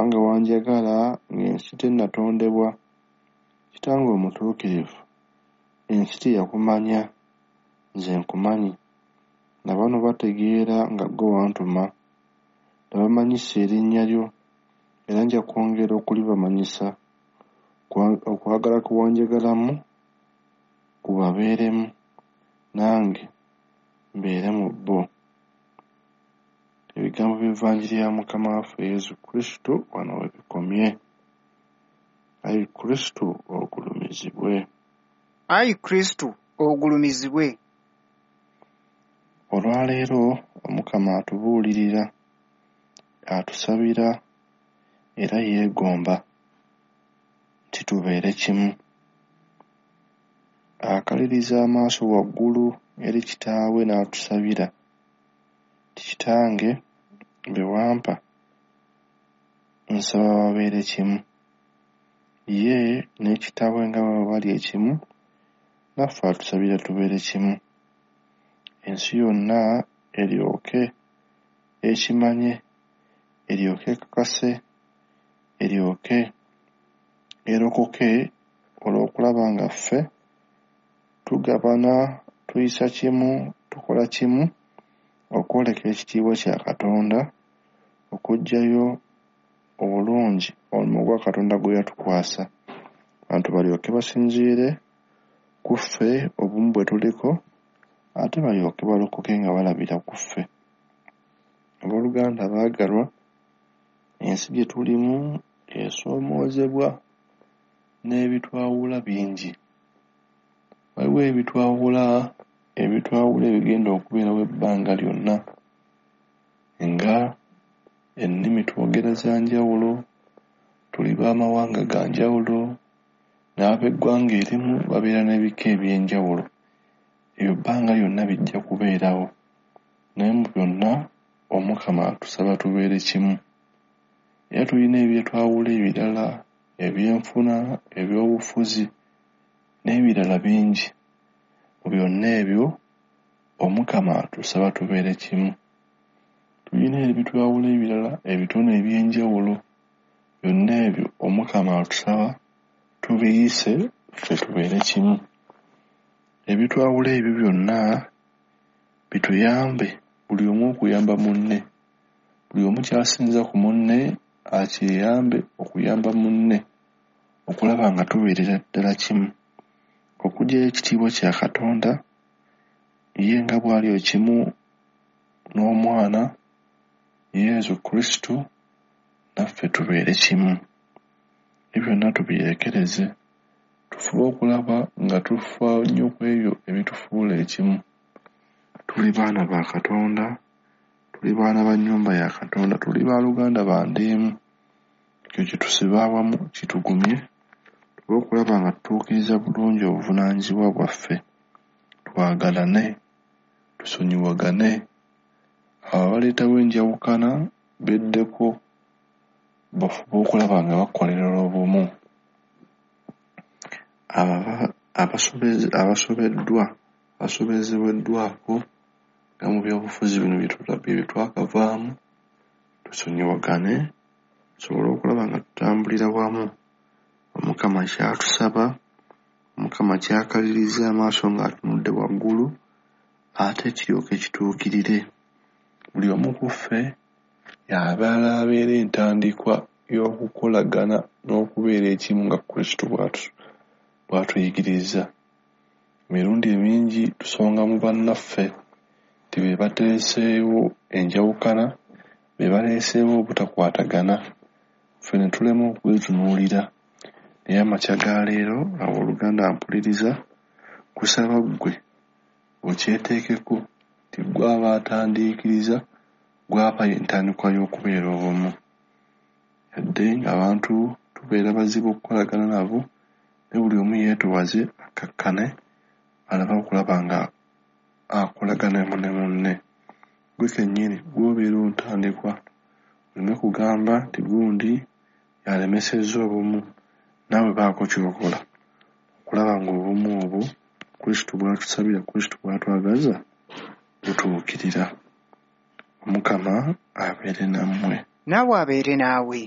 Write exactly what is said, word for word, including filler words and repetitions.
Kubanga wanjagala ng'ensi tennatondebwa. Kitange omutuukirivu, ensi teyakumanya, nze nkumanyi, na bano bategeera nga ggwe wantuma. Nabamanyisa erinnya lyo, era nja kwongera okulibamanyisa, okwagala kwe wanjagalamu kubabeeremu, nange mbeere mu bo. Ebigambo by'Evanjiri ya Mukama waffe Yesu Kristo wano we bikomye. Ayi Kristo ogulumizibwe. Ayi Kristo ogulumizibwe. Olwaleero Omukama atubuulirira, atusabira era yeegomba nti tubeere kimu. Akaliriza amaaso waggulu eri Kitaawe n'atusabira nti Kitange be wampa nsaba babeere kimu. Ye ne Kitaawe nga bwe bali ekimu, naffe atusabira tubeere kimu. Ensi yonna eryoke ekimanye, eryoke ekakase, eryoke erokoke olw'okulaba nga ffe tugabana, tuyisa kimu, tukola kimu okwoleka ekitiibwa kya Katonda, okuggyayo obulungi omulimu gwa Katonda gwe yatukwasa. Abantu balyoke basinziire ku ffe obumu bwe tuliko, ate balyoke balokoke nga balabira ku ffe. Abooluganda abaagalwa, ensi gye tulimu esoomoozebwa n'ebitwawula bingi. Waliwo ebitwawula, ebitwawula ebigenda okubeerawo ebbanga lyonna, nga ennimi twogera za njawulo, tuli b'amawanga ga njawulo, n'ab'eggwanga erimu babeera n'ebika eby'enjawulo. Ebyo bbanga lyonna bijja kubeerawo. Naye mu byonna Omukama atusaba tubeere kimu. Era tulina ebyetwawula ebirala, ebyenfuna, ebyobufuzi n'ebirala bingi. Mu byonna ebyo Omukama atusaba tubeere kimu. Tulina ebitwawula ebirala, ebitone eby'enjawulo. Byonna ebyo Omukama atusaba tubiyise ffe tubeere kimu. Ebitwawula ebyo byonna bituyambe buli omu okuyamba munne. Buli omu ky'asinza ku munne akyeyambe okuyamba munne okulaba nga tubeerera ddala kimu. Okuggyayo ekitiibwa kya Katonda, ye nga bw'ali ekimu n'Omwana Yesu Kristo, naffe tubeere kimu. Ebyo byonna tubirekereze, tufube okulaba nga tufa nnyo ku ebyo ebitufuula ekimu. Tuli baana ba Katonda, tuli baana ba nnyumba ya Katonda, tuli baaluganda ba nda emu. Ekyo kitusibe awamu kitugumye, tufube okulaba nga tutuukiriza bulungi obuvunaanyizibwa bwaffe. Twagalane, tusonyiwagane, abo abaleetawo enjawukana beddeko, bafube okulaba nga bakolerera obumu. Abo abasobeddwa, abasobezeddwako nga mu byobufuzi bino bye twakavaamu, tusonyiwagane tusobole okulaba nga tutambulira wamu. Omukama ky'atusaba, Omukama ky'akaliriza amaaso ng'atunudde waggulu, ate kiryoke kituukirire. Buli omu ku ffe y'abeera abeera entandikwa y'okukolagana n'okubeera ekimu nga Kristo bw'atuyigiriza. Emirundi emingi tusonga mu bannaffe nti be bateeseewo enjawukana, be baleeseewo obutakwatagana, ffe ne tulema okwetunuulira. Naye amakya ga leero, abooluganda mpuliriza, nkusaba ggwe okyeteekeko nti ggwe aba atandiikiriza, ggwe aba entandikwa y'okubeera obumu. Yadde ng'abantu tubeera bazibu okukolagana nabo, naye buli omu yeetoowaze akkakkane alabe okulaba nga akolagana ne munne. Ggwe kennyini gw'obeera ontandikwa, oleme kugamba nti gundi y'alemesezza obumu, naawe baako ky'okola okulaba ng'obumu obwo Kristo bw'atusabira, Kristo bw'atwagaza butuukirira. Omukama abeere nammwe. Naawe abeere naawe.